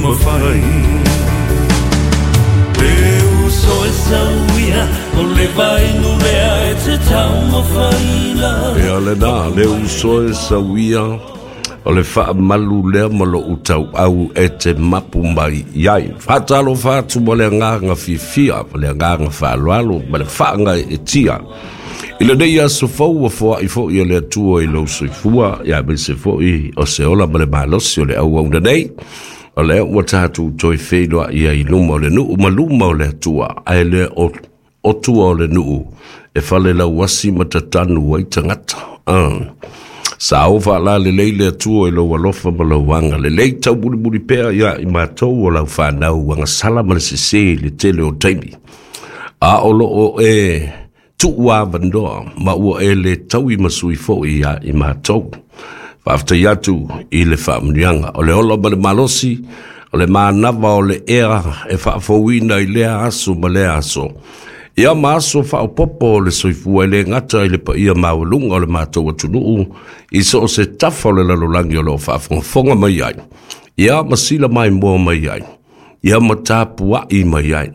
mafai. Le uso e sauia o le vainu lea e te taumafaina. Ia lena, le uso e sauia o le faamalu lea ma lou tauau e te mapu mai i ai. Faatalofa atu ma le agaga fiafia, ma le agaga faaaloalo, ma le faagaeetia i lenei aso fou ua foai foi e le Atua i lou soifua, ia aemaise foi o se ola ma le malosi o le auauna nei. O lea ua tatou toe feiloai ai i luma o le nuu ma luma o le Atua, ae le o tua o le nuu e falelauasi ma tatanu ai tagata. Sa o faalalelei le Atua i lou alofa ma lou agalelei, taumulimuli pea ia i matou o lau fanau agasala ma le sesē i le tele o taimi. A o loo e tuu avanoa ma ua e le taui ma sui foi ia i matou. Faafetai atu i le faamanuiaga o le ola ma le malosi, o le manava o le ea e faafouina i lea aso ma lea aso. Ia ma aso faaopoopo o le soifua e le gata i le paia maualuga o le matou atunuu i so o se tafa o le lalolagi o lo o faafogafoga mai ai, ia ma sila maimoa mai ai, ia ma tapuai mai ai.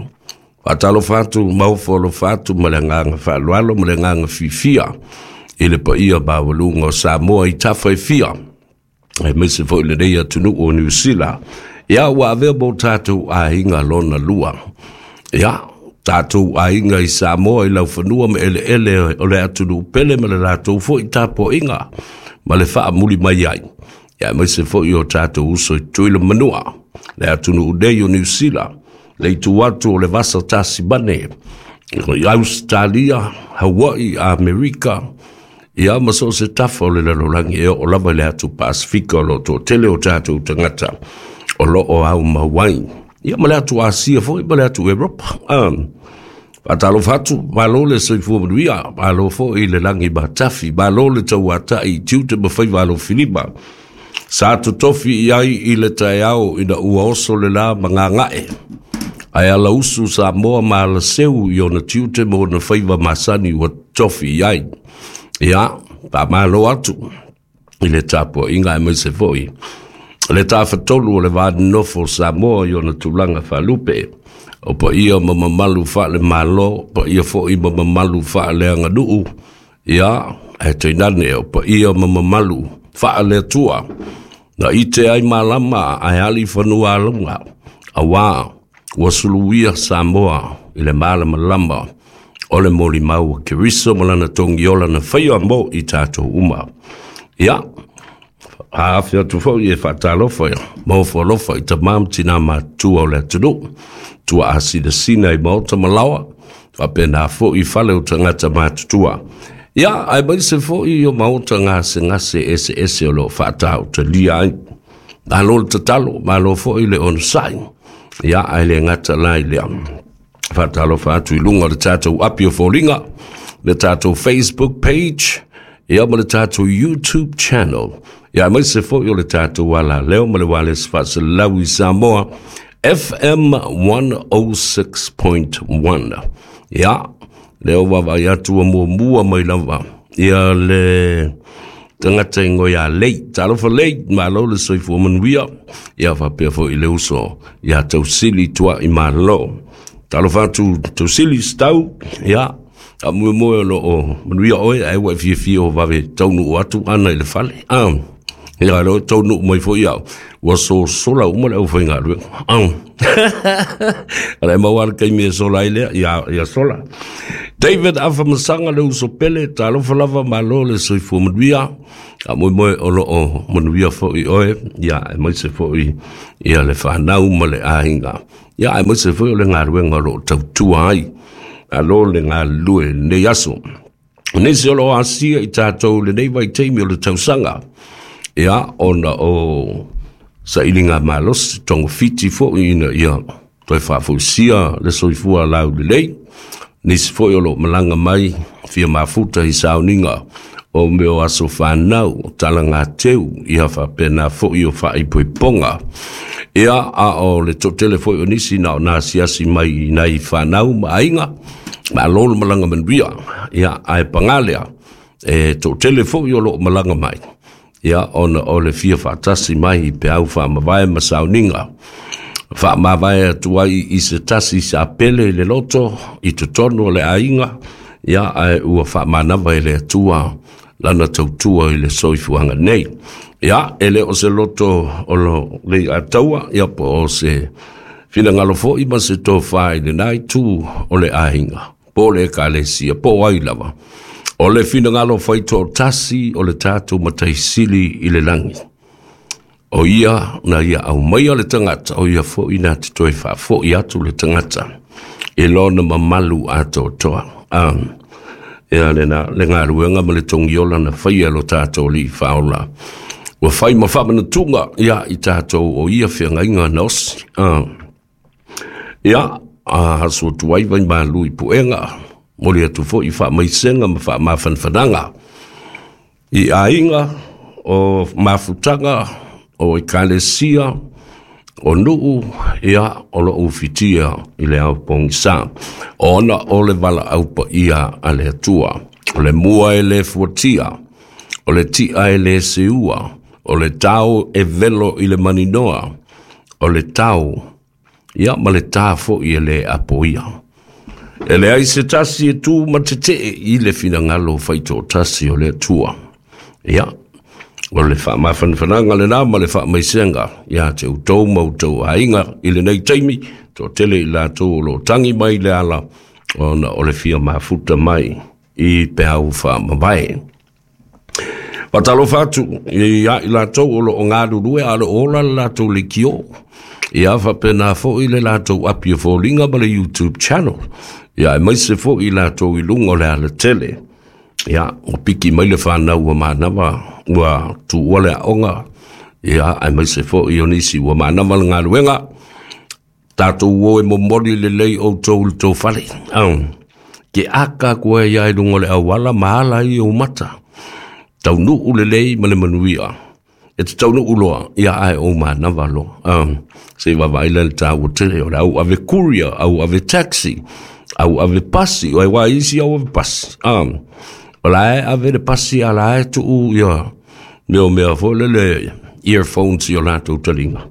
Faatalofa atu ma ofo alofa atu ma le agaga faaaloalo ma le agaga fiafia i le paia maualuga o Samoa i tafa e fia, aemaise foi lenei atunuu o Niu Sila. Ia ua avea mo tatou aiga lona lua. Ia, tatou aiga i Samoa i laufanua ma eleele o le atunuu pele ma le latou foi tapuaiga ma le faamuli mai ai. Ia, aemaise foi o tatou uso i Tutuila ma Manua, le atunuu nei o Niu Sila, le itu atu o le Vasa Tasimane, i Ausetalia, Hawaii, Amerika, ia ma so o se tafa o le lalolagi e oo lava i le atu Pasifika o lo o toatele o tatou tagata o lo o aumau ai. Ia ma le atu Asia foi ma le atu Europa. Faatalofa atu, malo le soifua manuia, malo foi le lagi matafi, malo le tauatai i tiute ma faiva alofilima. Sa totofi i ai i le taeao ina ua oso le la ma gagae, ae alausu Samoa ma alaseu i ona tiute ma ona faiva masani ua totofi i ai. Ia, faamalo atu i le tapuaiga aemaise foi le tafatolu o le va nonofo o Samoa i ona tulaga faalupe, o paia ma mamalu faale-Malo, paia foi ma mamalu faaleaganuu, ia, ae tainane o paia ma mamalu faale-Atua, na ite ai malama ae ali fanua alauga, auā ua suluia Samoa i le malamalama o le molimau a Keriso ma lana togiola na faia mo i tatou uma. Ia, aafi atu foi e faatalofa ma ofo alofa i tamā ma tinā matutua o le atunuu, tuaa sinasina i maota ma laoa, faapena foi i fale o tagata matutua. Ia, aemaise foi o maota gasegase eseese o lo o faatautalia ai. Malo le tatalo, malo foi le onosai. Ia, ae le gata la i lea. Faatalofa atu i luga o le tatou api o foliga, le tatou Facebook page, ia ma le tatou YouTube channel. Ia, aemaise foi o le tatou alaleo ma le wireless faasalalau i Samoa, FM 106.1. Ia, lea ua vaavaai atu ua muamua mai lava ia le tagata ingoa ia Lei. Talofa Lei, malo le soifua manuia. Ia faapea foi i le uso ia Tausili Tuai Malo. Talofa atu Tausili Stau, ia, a moemoe o loo manuia oe, ae ua e fiafia o vave taunuu atu ana i le fale. Ia, leo taunuu mai foi au, ua sosola uma le aufaigaluega. Ala e maua le taimi e sola ai lea, ia, ia sola. David Afamasaga le uso pele, talofa lava, malo le soifua manuia. A moemoe o loo manuia foi oe, ia, aemaise foi ia le fanau ma le aiga. Ia, aemaise foi o le galuega o loo tautua ai. Malo le galulue i lenei aso. Nisi o lo o asia i tatou i lenei vaitaimi o le tausaga, ia, ona o sailiga malosi, togafiti foi ina ia toe faafoisia le soifua laulelei. Nisi foi o lo o malaga mai fia mafuta i sauniga o mea o aso fanau, o talagateu, ia faapena foi o faaipoipoga. Ia, a o le toatele foi o nisi na o na asiasi mai i nai fanau ma aiga, malo le malaga manuia. Ia, ae paga lea, e toatele foi o lo o malaga mai, ia, ona o le fia faatasi mai i peau faamavae ma sauniga. Faamavae atu ai i se tasi sa pele i le loto i totonu o le aiga, ia ae ua faamanava e le Atua lana tautua i le soifuaga nei. Ia, e le o se loto o lo Leiataua, ia po o se finagalo foi ma se tofa i lena itu o le aiga, po o le ekalesia, po o ai lava. O le finagalo faitoatasi o le tatou Matai Sili i le lagi. O ia na ia aumaia le tagata, o ia foi na te toe faafoi atu le tagata i lona mamalu atoatoa. Ia lena le galuega ma le togiola na faia lo tatou Alii Faaola. Ua fai ma faamanatuga ia i tatou o ia feagaiga na osi. Ia, aso atu ai vai malu i puega, moli atu foi i faamaisega ma faamafanafanaga i aiga o mafutaga o ekalesia o nuu, ia o lo ufitia i le ao pogisa, ona o le valaau paia a le Atua. O le mua e le fuatia, o le tia e le seua, o le tao e velo i le maninoa, o le tao, ia ma le tā foi e le apoia. E leai se tasi e tu ma tetee i le finagalo faitoatasi o le Atua. Ia, o le faamafanafanaga lena ma le faamaisega ia te outou ma outou aiga i lenei taimi, toatele i latou o lo o tangi mai le ala ona o le fia mafuta mai i peau faamavae. Faatalofa atu ia i latou o lo o galulue a o lo o ola le latou leitio. Ia faapena foi le latou api o foliga ma le YouTube channel. Ia aemaise foi i latou i luga o le alatele. Ia, ua piki mai le whanau ua manava, ua tuua le aoga. Ia, aemaise foi o nisi ua manava le galuega. Tatou o e momoli lelei outou i le tou fale. Ke aka koe ia i luga o le auala ma ala i ou mata. Taunuu lelei ma le manuia. E te taunuu loa, ia ae ou manava loa. Se i vaavaai lea i le taua tele o le au ave courier, au ave taxi, au ave pasi, o ai wā isi au ave pasi. O la e ave le pasi a la e tuu ia mea o mea foi lele earphones i o latou taliga.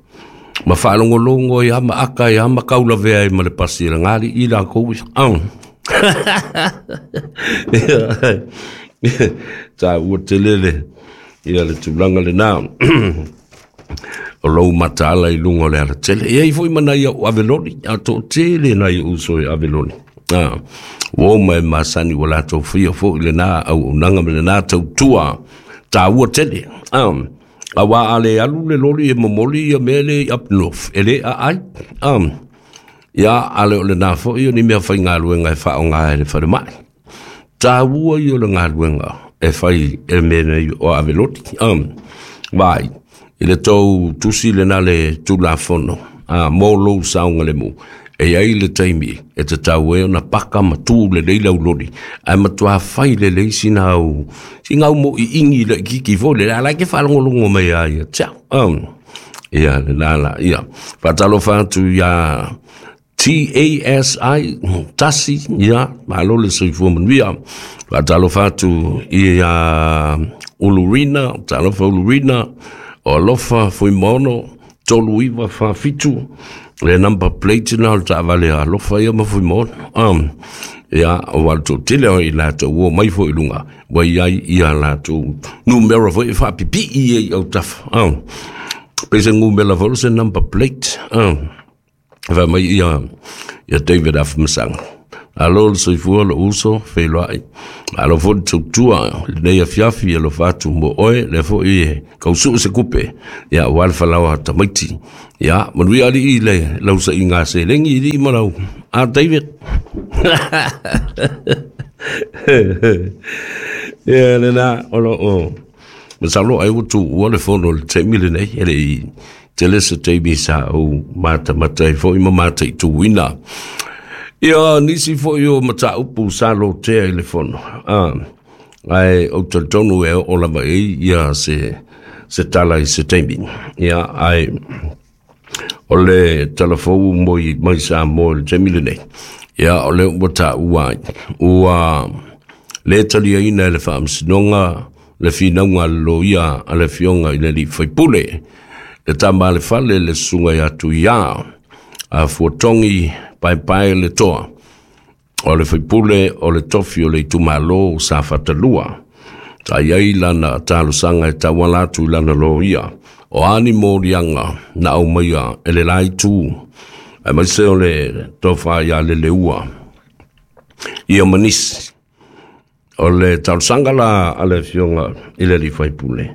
Ma faalogologo ai ma aka ai ma kaulavea ai ma le pasi e lagali i lakou ia. Taua tele le ia le tulaga lena. O lou mataala i luga o le alatele. E iai foi ma nai au ave loli, a toatele nai uso e ave loli. Ua oma e masani ua latou faia foi lena auaunaga ma lena tautua taua tele. Auā a le alu le loli e momoli ia mea le i up north, e le aai. Ia, a le o lena foi o ni mea faigaluega e faaaoga e le falemai. Taua ia o le galuega e fai e mea nei o ave loli. Vai, i le tou tusi lena le Tulafono, mo lou saogalemu, e iai le taimi e tatau ai ona paka ma tu lelei lau loli, ae matua fai lelei sina au, sina au moʻiʻigi laitiiti foi lele, a la e te faalogologo mai lava ia te au. Ia, lena la, ia. Faatalofa atu iā TASI, Tasi, ia, malo le soifua manuia. Faatalofa atu ia Ulurina, talofa Ulurina, o Alofa Fuimaono, 3947, le number plate na o le taavale a Alofa ia ma Fuimaono. Ia, o le toatele o i latou ua omai foi i luga, ua i ai ia latou numera foi e faapipii ai i autafa. Pei se numera foi o se number plate. Fai mai ia ia David Afamasaga. Malo le soifua lou uso feiloai. Malo foi le tautua i lenei afiafi e alofa atu mo oe, lea foi e kausuu se kupe, ia aua le falaoa tamaiti. Ia, manuia alii i le lausaiga a seleni i alii ma lau. A David. Ia lena o lo o masalo ai ua tuua le fono i le taimi lenei, e le i tele se taimi sa ou matamata ai foi ma mataituina. Ia nisi foi o mataupu sa lotea i le fono. Ae ou te talitonu e oo lava i ai ia se tala i se taimi. Ia, ae o le tala fou moi mai Samoa i le taimi lenei. Ia, o lea ua taua ai, ua le taliaina e le Faamasinoga le finauga a le loia a le Afioga i le Alii Faipule, le tama a le fale, le susuga ia Tuiā. Fuatogi Paepae le Toa, o le faipule o le tofi o le itumalo o Safata 2. Sa i ai lana talosaga e tauala atu i lana loia, o a ni moliaga na aumaia e le la itu, aemaise o le tofa ia Leleua ia ma nisi. O le talosaga la a le afioga i le alii faipule,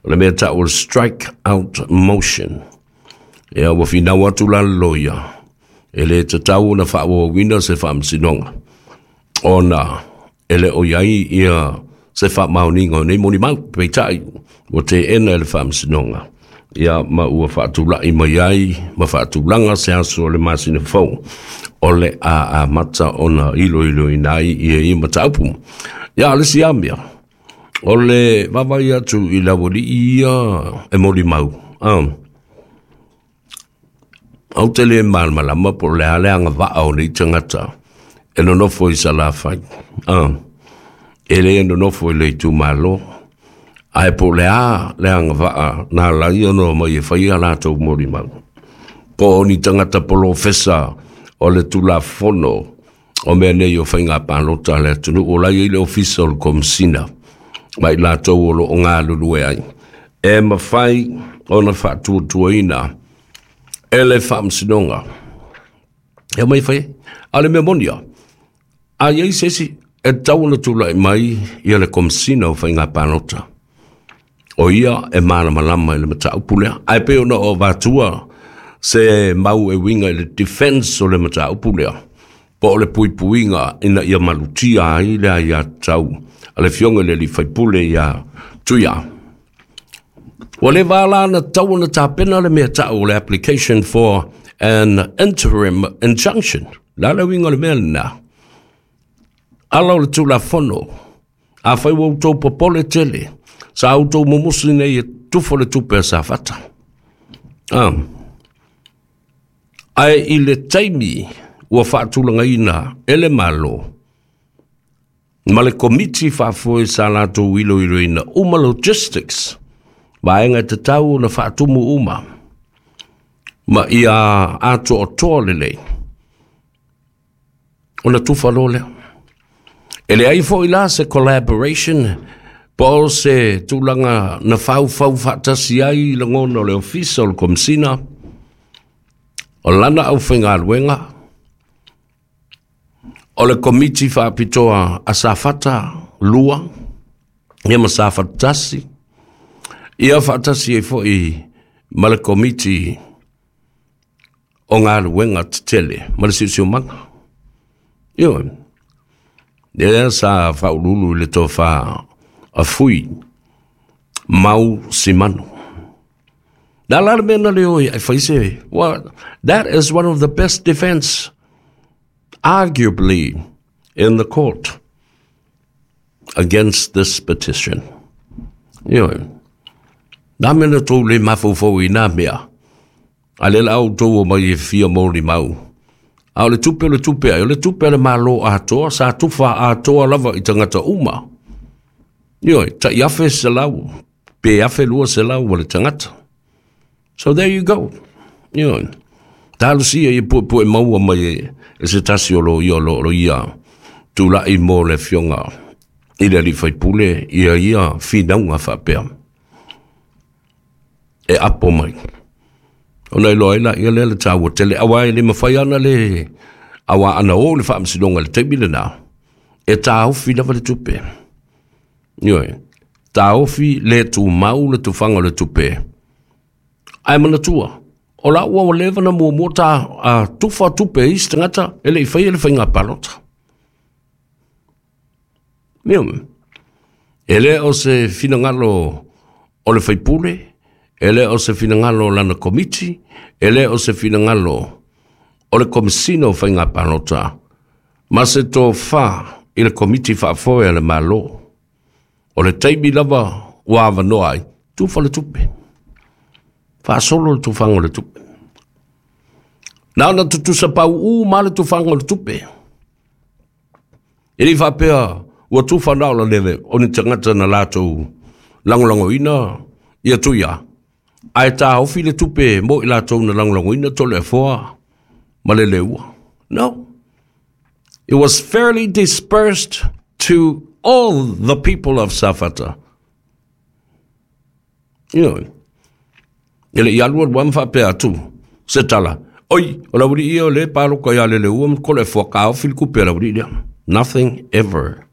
o le mea tau o le strike out motion. Ia ua finau atu la le loia, e le tatau ona faaauauina se faamasinoga, ona e le o i ai ia se faamaoniga o nei molimau. Peitai, ua teena e le faamasinoga, ia ma ua faatulai mai ai ma faatulaga se aso o le masina fou o le a amata ona iloiloina ai ia ia mataupu. Ia, o le isi lava mea, o le vaavaai atu i le aualii ia e molimau, ou te le malamalama po o le a le agavaa o nei tagata e nonofo i Salafai. E le nonofo i le itumalo, ae po o le a le agavaa na ala ai ona omai e fai a latou molimau. Po o ni tagata polofesa o le Tulafono o mea nei o faiga palota a le atunuu, o la e i ai le ofisa o le Komesina ma i latou o lo o galulue ai, e mafai ona faatuatuaina e le faamasinoga e omai e fai ai. A o le mea moni lava, a i ai se isi e tatau ona tulai mai ia le Komesina o Faiga Palota, o ia e malamalama i le mataupu lea. Ae pei ona o avatua se mau e uiga i le defense o le mataupu lea, po o le puipuiga ina ia malutia ai le aiatatau a le afioga i le alii faipule ia Tuia. Ua leva la ona tatau ona tapena le mea tau o le application for an interim injunction. O le a le uiga o le mea lena? Ala o le Tulafono, afai ua outou popole tele, sa outou mumusi nei e tufa le tupe a Safata. Ae i le taimi ua faatulagaina e le Malo ma le komiti faafoe sa latou iloiloina uma logistics, vaega e tatau ona faatumu uma ma ia atoatoa lelei, ona tufa loa lea. E leai foi la se collaboration po o se tulaga na faufau faatasi ai lagona o le ofisa o le Komesina, o lana aufaigaluega, o le komiti faapitoa a Safata 2, ia ma Safata 1, ia faatasi ai foi ma le komiti o galuega tetele ma le siosiomaga. Ioe, lea sa faauluulu i le tofa a Fui Mau Simanu. Na la le mea na le oi ai fai se, well, that is one of the best defense, arguably, in the court against this petition. Ioe, na mea na tou le mafaufau i nā mea, a le la outou o mai e fia molimau. A o le tupe o le tupe ai, o le tupe a le Malo atoa, sa tufa atoa lava i tagata uma. Ioe, tai 1,100, pe 1,200 o le tagata. So there you go. Ioe, talosia ia puepue maua mai e se tasi o lo ia o lo ia tulai mo le afioga i le alii faipule ia ia finauga faapea e apo mai. Ona iloa ai la ia lea le taua tele, aua e le mafai ana le aua ana o le faamasinoga i le taimi lena, e taofi lava le tupe. Ioe, taofi le tumau le tufaga o le tupe. Ae manatua, o la ua leva na muamua ta a tufa tupe i isi tagata e le i faia le faiga palota. Ioe, e le o se finagalo o le faipule, e le o se finagalo o lana komiti, e le o se finagalo o le Komesina o Faiga Palota, ma se tofa i le komiti faafoe a le Malo. O le taimi lava ua avanoa ai, tufa le tupe. Faasolo le tufaga o le tupe. Na ona tutusa pauū ma le tufaga o le tupe. E le i faapea ua tufa na o la lele o ni tagata na latou lagolagoina ia Tuia, ae taofi le tupe mo i latou na lagolagoina Toleafoa. ma Leleiua. No. It was fairly dispersed to all the people of Safata. Ioe. E le i alu alu ma faapea atu se tala, Oi, o le aualii ia o lea e paloka ia Leleua ma Toleafoa, taofi le tupe a le aualii lea. Nothing ever.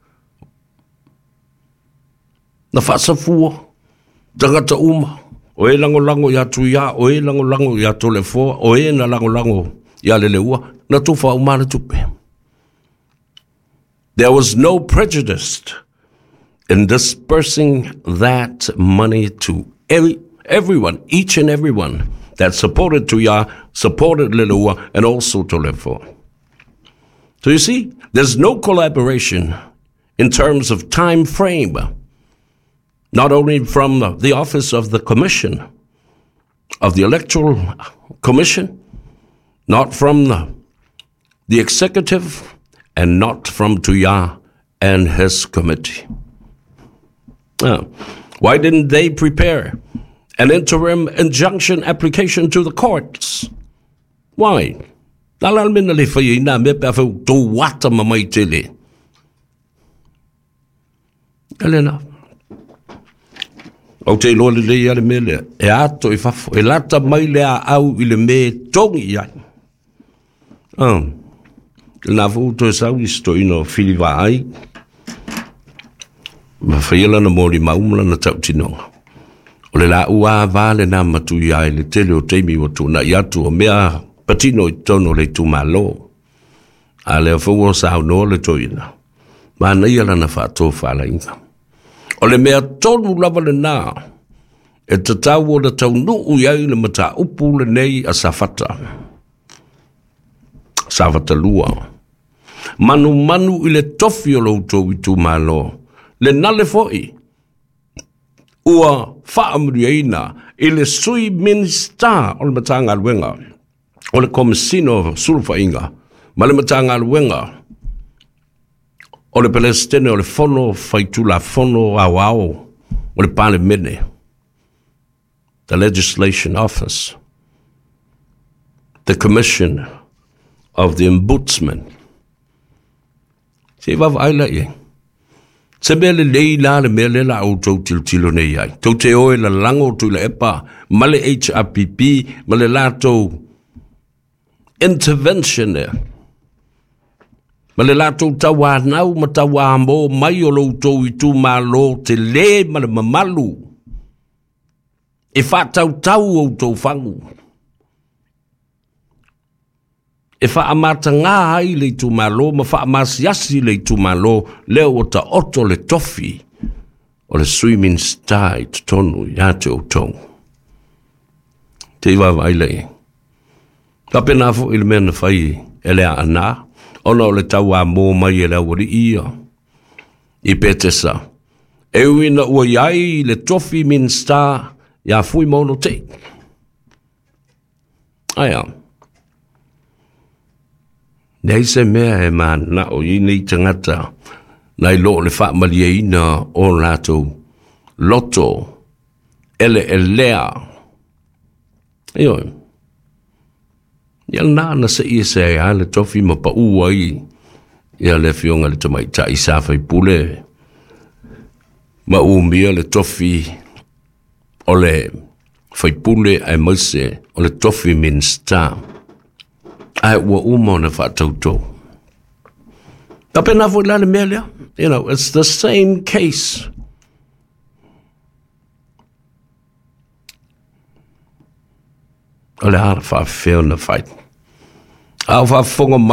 Na faasafua tagata uma, o e lagolago ia Tuia, o e lagolago ia Toleafoa, o e na lagolago ia Leleua, na tufa uma le tupe. There was no prejudice in dispersing that money to everyone, each and everyone that supported Tuia, supported Leloa, and also Toleafoa. So you see, there's no collaboration in terms of time frame, not only from the office of the commission, of the Electoral Commission, not from the executive, and not from Tuia and his committee. Why didn't they prepare an interim injunction application to the courts? Why? Na la mena le whai i nā mea pe a whau tō wata ma mai tele. Elena. Ou te iloa lelei a le mea lea, e ato i fafo, e lata mai le a au i le me tongi i ai. Oh. Lena foi ua toe sau isi toeaina o Fili Vaai, ma faia lana molimau ma lana tautinoga. O le laua ava lena ma Tuia i le tele o taimi ua tuanai atu o mea patino i totonu o le itumalo. A lea foi ua saunoa le toeaina, manaia lana faatofalaiga. O le mea tonu lava lena e tatau ona taunuu i ai le mataupu lenei a Safata. Safata 2. Manumanu i le tofi o lo outou itumalo, le nale foi ua faamanuiaina i le Sui Minisita o le Matagaluega o le Komesina o Sulufaiga ma le Matagaluega o le Peresetene o le Fono Faitulafono Aoao o le Palemene, the Legislation Office, the Commission of the Ombudsman. Se i vaavaai la i ai. Se mea lelei la le mea lea la outou tilotilo nei ai. Tou te o e lalago Tuilaepa ma le HRPP ma le latou intervention ea. Ma le latou tauanau ma tauamo mai o lo outou itumalo tele ma le mamalu e faatautau outou fagu. E faamatagā ai le itumalo ma faamasiasi le itumalo lea ua taoto le tofi o le Sui Minisita i totonu ia te outou. Te i vaavaai lea i ai. Faapena foi le mea na fai e le Aana, ona o le tauamo mai e le aualii ia i Petesa. E ui ina ua i ai le tofi Minisita ia Fuimaono Tei. Aia. Leai se mea e mananao i nei tagata nai lo le faamalieina o latou loto eleelea. Ioe. Ia lena na sei ese ai lava le tofi ma pau ai ia le afioga i le tamaitai sa faipule ma umia le tofi o le faipule aemaise o le tofi Minisita, ae ua uma ona faatauto. Faapena foi la le mea lea, you know, it's the same case. O le a faafefea ona fai? A o faafofoga mai